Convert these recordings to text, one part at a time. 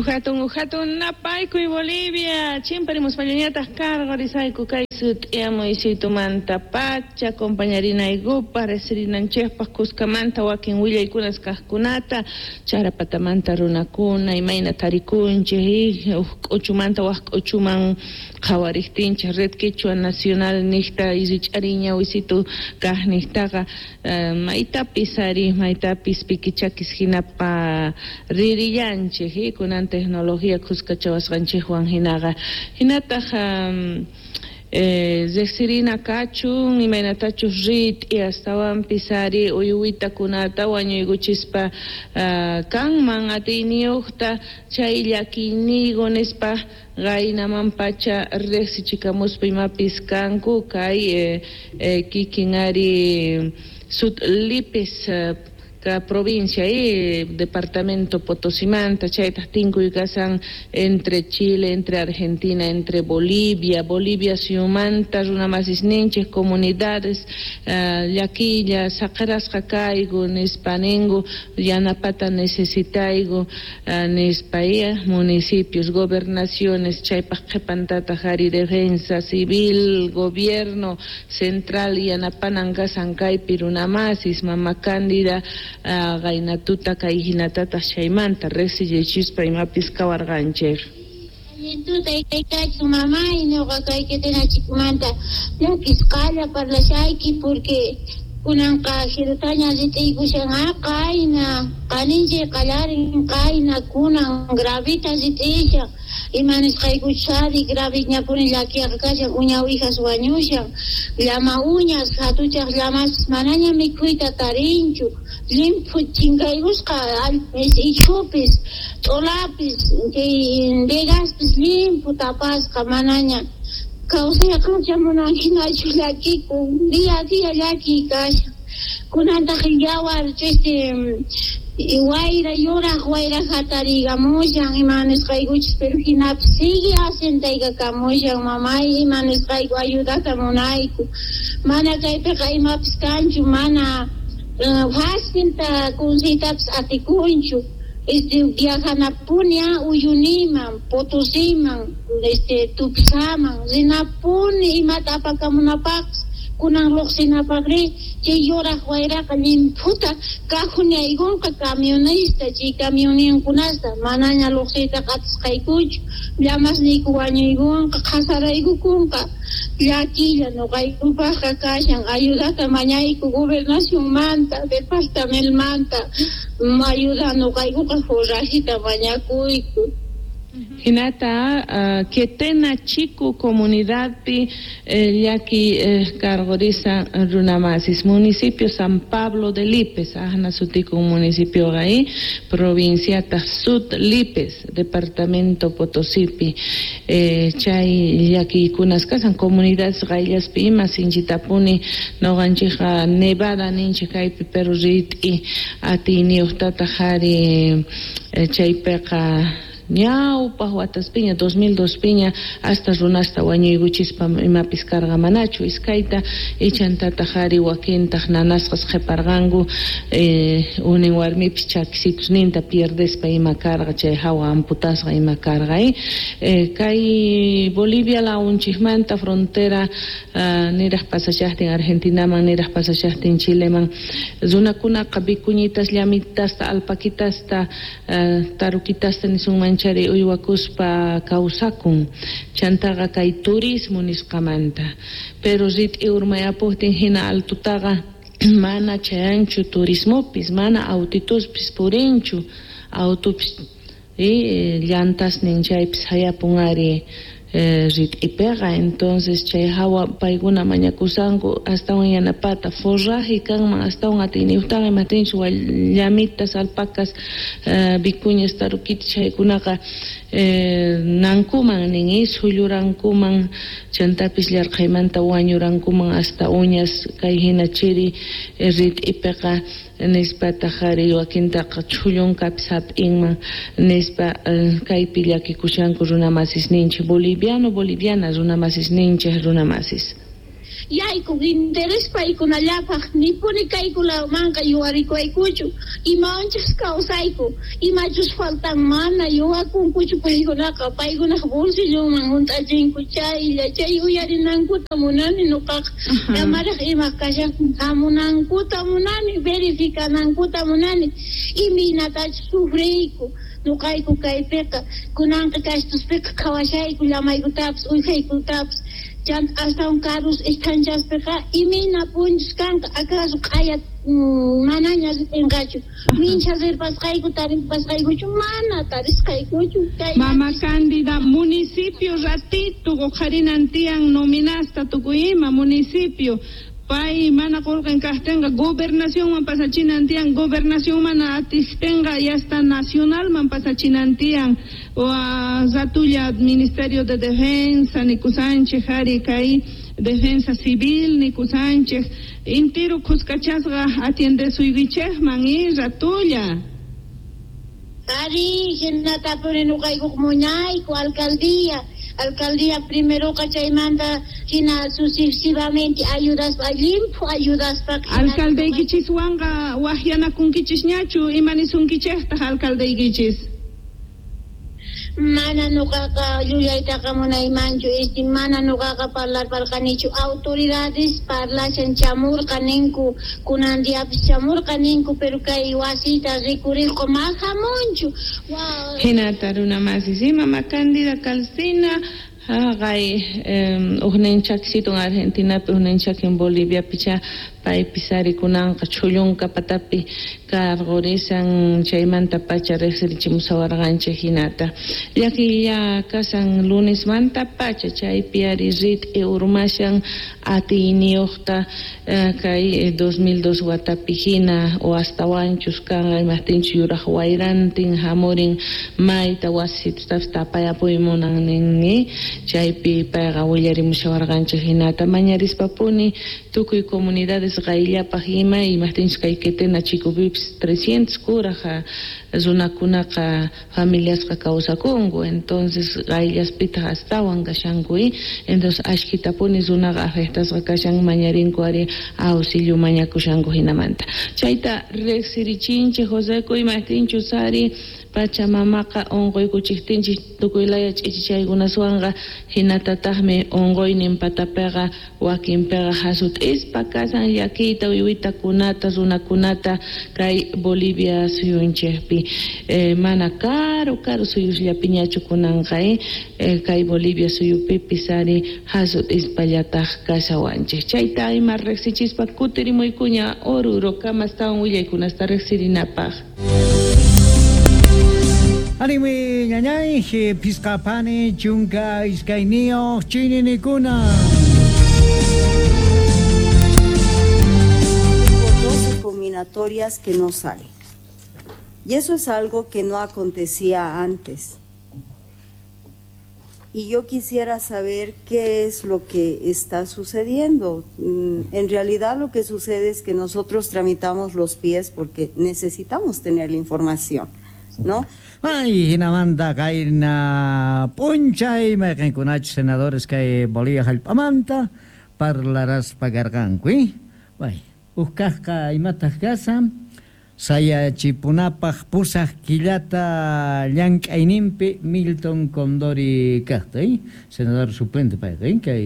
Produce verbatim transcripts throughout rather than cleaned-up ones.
Uhatun uhatun napaykuy Bolivia, chimparimuspallañataq cargorisayku kay sut'iyamuy-situmanta pacha compañarinaykupaq riqsirinanchikpaq kuskamanta wakin willaykunas kaqkunata charapatamanta runakuna imayna tarikunchik huk k'uchumanta wak k'uchuman qhawariqtinchik Red Quechua Nacional niqta rich'ariy ñawisitu kaq niqtaqa maytapis ari maytapis pikichakis hinapa ririllanchik kunan tecnología kuskachawasqanchikwan hinaqa hinataq riqsirina kachun imaynatachus rit'i astawanpis ari uywitakunata wañuykuchispa kanman atiyniyuqta chay llakiyniyku nispa qaynaman pacha riqsichikamuspa imapis kanku kay kikin ari Sud Lipes provincia y departamento Potosimanta chaytaq tinkuy kasan entre Chile, entre Argentina, entre Bolivia, Bolivia suyumanta runamasisninchik comunidades llakilla saqirasqa kayku nispa ninku yanapata necesitayku nispa municipios, gobernaciones chaypaq qhipantataq ari defensa civil, gobierno central yanapanan kasan kaypi runamasis mama Cándida qaynatuta kay hinatataq chaymanta riqsiyachispa imapis kawarqanchik. Tuta kaykachu mamay ñuqa kay Quetenachikumanta llakisqalla parlashayki porque kunanqa jirutaña rit'iykushan qayna qaninchik qallarin qayna kunan gravita rit'ishan ima nisqaykuchari graviñapuni llakiqa kashan uña uwijas wañushan llama uñas hatuchaq llamas manaña mikhuyta tarinchu llimphu chinkaykusqa ichhupis t'ulapis chay vegaspis llimphu tapasqa manaña kawsayqa munanhinachu llakikun día a día llakiy kashan kunantaq yawar este wayra yuraq wayra hatariykamushan ima nisqaykuchis pero hinapis sigue asentaykamushan mamay ima nisqayku ayudata munayku mana kaypiqa imapis kanchu mana facilta kunsiytapis atikunchu este viajanapuni Uyuniman, Potosiman, este Tupsaman rinapuni imata apakamunapaqpis kunan lluqsinapaqri chay yuraq wayraqa llimphuta kajunaykunqa camionista chay camioninkunasta manaña lluqsiytaqa atisqaykuchu llamasniyku wañuykunqa qhasaraykukunqa llakilla ñuqaykupaqqa kashan ayudata mañayku gobernacionmanta departamentomanta ayuda ñuqaykuqa forrajita mañakuyku. Hinata Quetena Chico comunidadpi llaki cargorisa runamasis municipio San Pablo de Lipes ahna sutikun municipio ahí provincia Sud Lipes departamento Potosipi chay llakikunas kasan comunidades qayllaspi ima sinchitapuni ñuqanchikqa nevada ninchik kaypi pero rit'i atiyniyuqtataq ari chaypiqa ñawpaq wataspiña dos mil dos piña hasta runasta wañuykuchispa imapis karqa manachu iskayta ichantataq ari wakintaq nanasqas qhiparqanku unin warmipis chakisitusninta pierdespa ima karqa chay hawa amputasqa ima karqa kay Bolivia lawunchikmanta frontera niraq pasashaqtin Argentinaman niraq pasashaqtin Chileman runakunaqa vicuñitas llamitasta alpaquitasta tarukitasta nisunman chari uywakuspa kawsakun chantaqa kay turismo nisqamanta pero rit'i urmayapuqtin hina altutaqa mana chayanchu turismopis mana autituspis purinchu autopis llantasnin chaypis hayapun ari rit'ipiqa entonces chay hawa paykuna mañakusanku astawan yanapata forraje kanman astawan atiyniyuqtaqa imatinchu llamitas alpacas vicuñas tarukitas chaykunaqa nankuman nin sullurankuman chantapis llarqhaymanta wañurankuman hasta uñas kay hina chiri rit'ipiqa nispataq ari wakintaqa chhullunkapis hap'inman nispa kaypi llakikushanku runamasisninchik boliviano boliviana runamasisninchik runamasis. Yayku interés paykunallapaq nipuni kaykunamanqa yuwarikuwaykuchu imawanchus kawsayku imachus faltan mana yuwakunkuchu paykunaqa paykunaq bolsillonman hunt'achinku chaylla chay uyarinankuta munani nuqaqa amaraq ima kashan hamunankuta munani verificanankuta munani imaynatachus sufriyku nuqayku kaypiqa kunanqa kastuspiqa qhawashayku llamaykutapis uwijaykutapis chanta astawan karus esthanchaspiqa imayna punchus kanqa acaso q'aya manaña ritinqachu mincha rirpasqayku taripasqaykuchu mana tarisqaykuchu. Mama Cándida, municipio ratito uqharinan tiyan nominasta tukuy ima municipio pay mana qullqin kaqtinqa gobernacionman pasachinan tiyan, gobernación mana atiqtinqa ya hasta nacionalman pasachinan tiyan, o ratulla Ministerio de Defensa nikusanchik ari kay Defensa Civil nikusanchik intiru khuskachasqa atiendesuykichikman y ratulla. Ari hinatapuni nuqaykuq munayku alcaldía alcaldía primeroqa chaymanta hina sucesivamente ayudaspa llimphu ayudaspa. Alcaldeykichiswanqa waqyanakunkichisñachu imanisunkichiktaq alcaldeykichis? Mana nuqaqa llullaytaqa munaymanchu este mana nuqaqa parlarparqanichu autoridades parlashan chamurqa ninku kunan diapis chamurqa ninku pero kay wasita rikuriqqa ma hamunchu. Hinata runa masis mama Cándida Calcina haqay uqninchakisitun Argentinapi uqninchak en Boliviapicha paypis ari kunanqa chhullunka patapi karqurisan chaymanta pacha riqsirichimusawarqanchik hinata llakilla kasan lunesmanta pacha chaypi ari rit'i urmashan atiyniyuqta kay dos mil dos watapi hina o astawanchus kanqa imaqtinchus yuraq wayrantin hamurin mayta wasitutapis tapayapuy munan ninmi chaypi payqa willarimushawarqanchik hinata mañarispapuni tukuy comunidades qayllapaq ima imaqtinchus kay Quetena chikupipis trescientos kuraqa runakunaqa familiasqa kawsakunku entonces qayllaspitaq astawan kashanku entonces ashkitapuni runaqa afectasqa kashan mañarinku ari auxilio mañakushanku hinamanta chayta riqsirichinchik Joseco imaqtinchus ari Pachamamaqa unquykuchiktinchik tukuylaya ch'ichichaykunaswanqa hinatataqmi unquynin patapiqa wakinpiqa hasut'ispa kasan llakiyta uywitakunata runakunata kay Bolivia suyunchikpi eh, mana karu karu suyusllapiñachu kunanqa eh, kay Bolivia suyupipis ari hasut'ispallataq kashawanchik chayta ima riqsichispa kutirimuykuña Oruro kamastawan willaykunasta riqsirinapaq. Anime ñañay, piscapani, chunka, iskainio, chininikuna. doce combinatorias que no salen. Y eso es algo que no acontecía antes. Y yo quisiera saber qué es lo que está sucediendo. En realidad lo que sucede es que nosotros tramitamos los pies porque necesitamos tener la información, ¿no? Ay, hinamanta kayna p'unchay mayqinkunachu senadores kay Bolivia hallp'amanta parlaraspa karqanku, Bay, huk kaqqa imataq kasan sayachipunapaq pusaq killata llank'ayninpi Milton Condori kaqta, eh? Senador suplente payqa, eh? Kay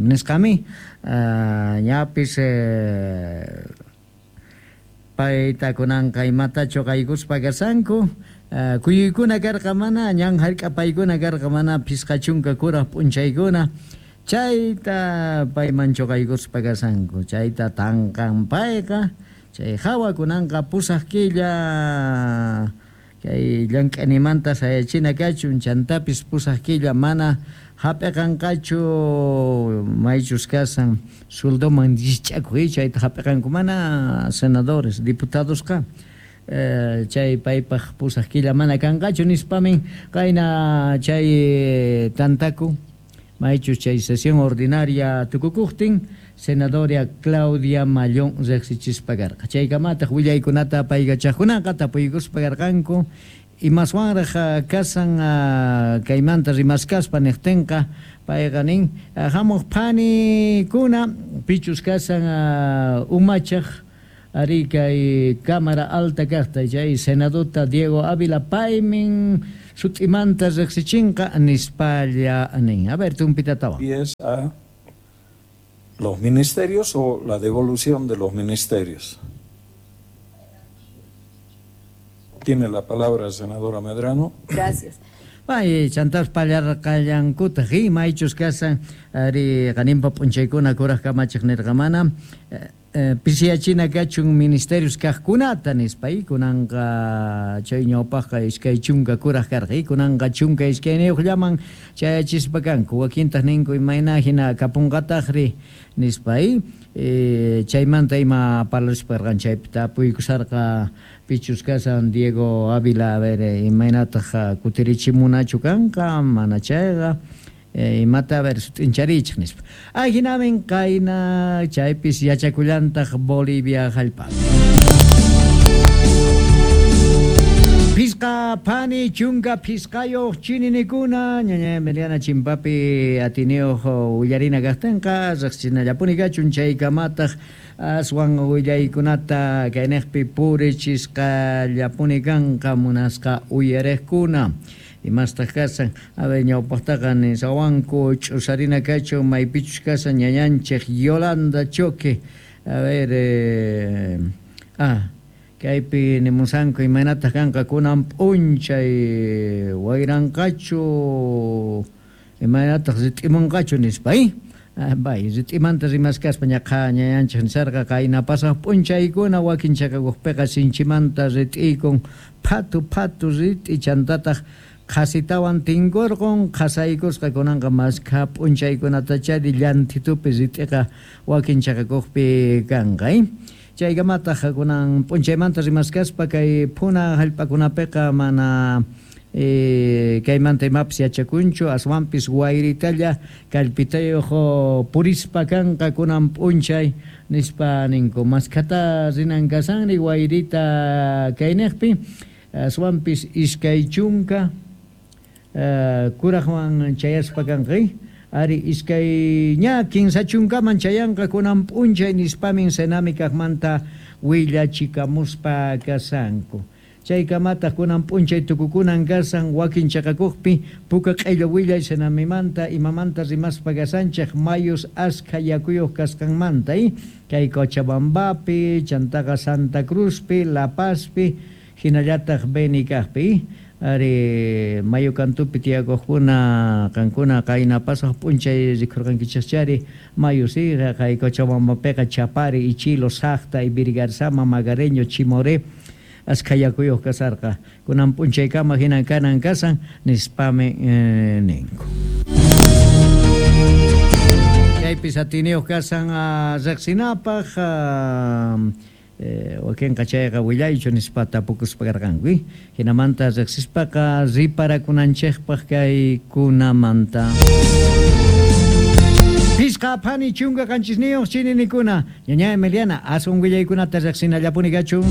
nisqami uh, ñapis eh, payta kunanqa imatachu qaykuspa kasanku uh, kuyuykuna karqa mana ñan hark'apaykuna karqa mana phisqa chunka kuraq p'unchaykuna chayta payman chuqaykuspa kasanku chayta tanqan payqa chay hawa kunanqa pusaq killa kay llank'animanta sayachina kachun chantapis pusaq killa mana hap'iqanqachu maychus kasan sueldoman llich'akuy chayta hap'iqanku mana senadores diputadosqa eh, chay paypaq pusaq killa mana kanqachu nispamin qayna chay tantaku maychus chay sesión ordinaria tukukuqtin senadoria Claudia Mallón riqsichispa karqa chaykamataq willaykunata paykachaqkunaqa tapuykuspa karqanku Imaswanraq kasan kaymanta rimaskaspa niqtinqa payqa nin hamuq phanikuna pichus kasan umachaq ari kay Cámara Alta kaqta chay Senadota Diego Ávila paymin sut'imanta riqsichinqa nispalla nin. A ver, tumpitatawan. Y es a los ministerios o la devolución de los ministerios. Tiene la palabra, senadora Medrano. Gracias. Pay, chantas pallarqallankutaq maychus kasan ari qaninpa p'unchaykuna kuraq kamachiq nirqamana pisiyachina kachun ministerios kaqkunata nispa kunanqa chay ñawpaqqa iskay chunka kuraq karqa kunanqa chunka iskayniyuqllaman chayachispa kanku wakintaq ninku imayna hina kapunqataqri nispa chaymanta ima parlaspa karqan chaypi tapuykusarqa pichus kasan Diego Ávila a ver imaynataq kutirichimunachu kanqa mana chayqa imata a ver sut'incharichik nispa ajinamin qayna chaypis yachakullantaq Bolivia hallp'api. Pisqa phani chunka pisqayuq chininikuna ñaña Emiliana chimpapi atiniyuq willarina kaqtinqa riqsinallapuni kachun chaykamataq aswan willaykunata kayniqpi purichisqallapuni kanqa munasqa uyariqkuna. Imastaq kasan a ver ñawpaqtaqa nisawanku ch'usarina kachun maypichus kasan ñañanchik Yolanda Choque a ver eh, ah kaypi nimusanku imaynataq kanqa kunan p'unchay wayranqachu imaynataq rit'imunqachu nispa bay rit'imanta rimaskaspa ñaqa ñañanchik nisarqa qayna pasaq p'unchaykuna wakin chakakuqpiqa sinchimanta rit'iykun phatu phatu rit'i chantataq qhasitawan tinkurqun qhasaykusqa kunanqa maskha p'unchaykunatachari llantitupi rit'iqa wakin chakakuqpi kanqa chaykamataq kunan p'unchaymanta rimaskaspa kay phuna hallp'akunapiqa mana eh, kaymanta imapis yachakunchu aswanpis wayritalla kallpitayuq purispa kanqa kunan p'unchay nispa ninku maskhata rinan kasanri wayrita kayniqpi aswanpis iskay chunka Uh, kuraqwan chayaspa kanqi ari iskay ña kinsa chunkaman chayanqa kunan p'unchay nispamin Senami kaqmanta willachikamuspa kasanku chaykamataq kunan p'unchay tukukunan kasan wakin chaqakuqpi puka q'illu willay Senamimanta imamanta rimaspa kasanchik mayus askha yakuyuq kasqanmanta kay Cochabambapi chantaqa Santa Cruzpi La Pazpi hinallataq Beni kaqpi ari mayu kantupi tiyakuqkuna qankuna qayna pasaq p'unchay rikurqankichikchari mayu siqa kay Cochabambapiqa Chapari, Ichilo, Saqta, Ibirigarzama, Magareño, Chimoré askha yakuyuq kasarqa kunan p'unchaykama hinan kanan kasan nispami eh, ninku. Chaypis atiniyuq kasan riqsinapaq Eh, wakinqa chayqa willaychu nispa tapukuspa karqanku hinamanta riqsispaqa riparakunanchikpaq kaykunamanta. Pisqa phani chunka qanchisniyuq chininikuna ñaña Emiliana aswan willaykunata riqsinallapuni kachun.